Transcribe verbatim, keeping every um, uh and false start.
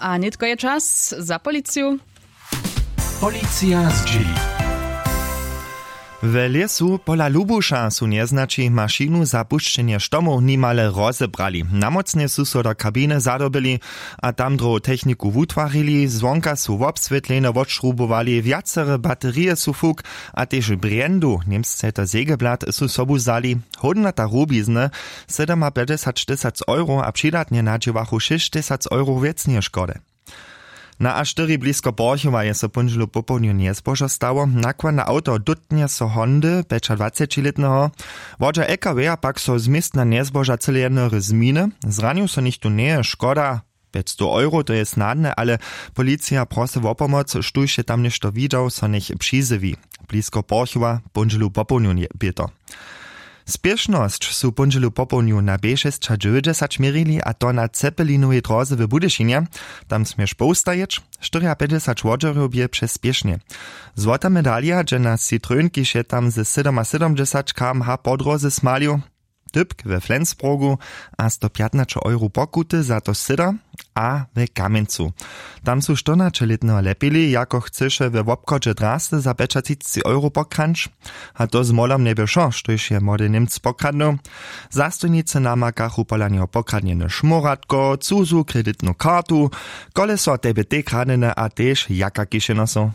A nětko je čas za policiju. Policija zdźěli. W lěsu pola lubuša su njeznaći mašinu za pušćenje štomow nimale rozebrali. Namócnje su so do kabiny zadobyli a tam drohu techniku wutwarili. Zwonka su wobswětlejnje wotšrubowali, wjacere baterije su fuk a tež brjendu, němsce je to segeblat, su sobu wzali. Hódnota rubizny, sydomapjećdźesać tysac euro, a přidatnje nadźěłachu šěsć tysac euro wěcneje škody. Na a štyri blisko porchowa je so póndźelu popołdnju njezbožo stało. Nakładne awto dótnje so hondy pjećadwacećilětneho. Wodźa ekawja pak so z městna njezboža cyle jednory zminy. Zranił so nichtó njeje. Škoda pjećstow euro, to je snadne, ale policija prosy wo pomoc, štóž je tam něšto widźał, so njech přizjewi. Blisko porchowa póndźelu popołdnju bě to. Spěšnosć su póndźelu popołdnju na b šěsćadźewjećdźesać měrili, a to na cepelinowej dróze w budyšinje. Tam směš powstajeć. Štyrjapjećdźesać wodźerjow bě přez spěšnje. Złota medalija dźe na citrón, kiž je tam ze sydomasydomdźesać km h po dróze smalił. Typk we flensburgu a stopjatnaće euro pokuty za to syda. A w kamjencu, tam su štyrnaćelětneho lepili, jako chcyše we wobchodźe drasty za pjećatřiceći euro pokrańć. A to z molom njebě wšo, štóž je młody němc pokradnył. Zastojnicy namakachu pola njeho pokradnjeny šmóratko, cuzu kreditnu kartu, koleso a tebetej kradnjene a tež jaka kišenosow.